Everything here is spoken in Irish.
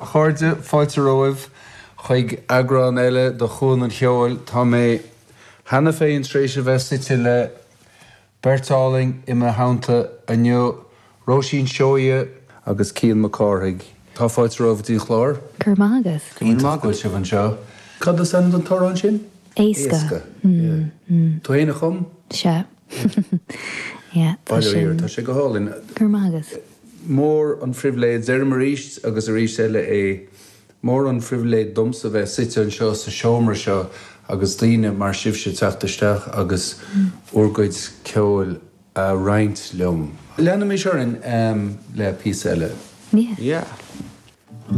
A chairde, fáilte romhaibh chuig eagrán eile de Chuan an Cheoil. Tá mé cheana féin tar éis a bheith suite le beirt álainn i mo theannta inniu, Róisín Seoighe agus Cian Mac Cárthaigh. Tá fáilte romhaibh go dtí an chlár. Go raibh maith agat. Iontach go bhfuil sibh anseo. Cad is ainm don t-amhrán sin? Éasca. Éasca. Yeah. Tú féin a chum? Sea. Yeah, tá Bail ó Dhia sin. ort, tá sé go hálainn. Go raibh maith agat. Mór an phribhléid, deirim arís agus arís eile é, mór an phribhléid domsa bheith suite anseo sa seomra seo agus daoine mar sibhse teacht isteach agus bhur gcuid ceoil a roinnt liom. Leanaimis orainn le píosa eile. Yeah. Yeah.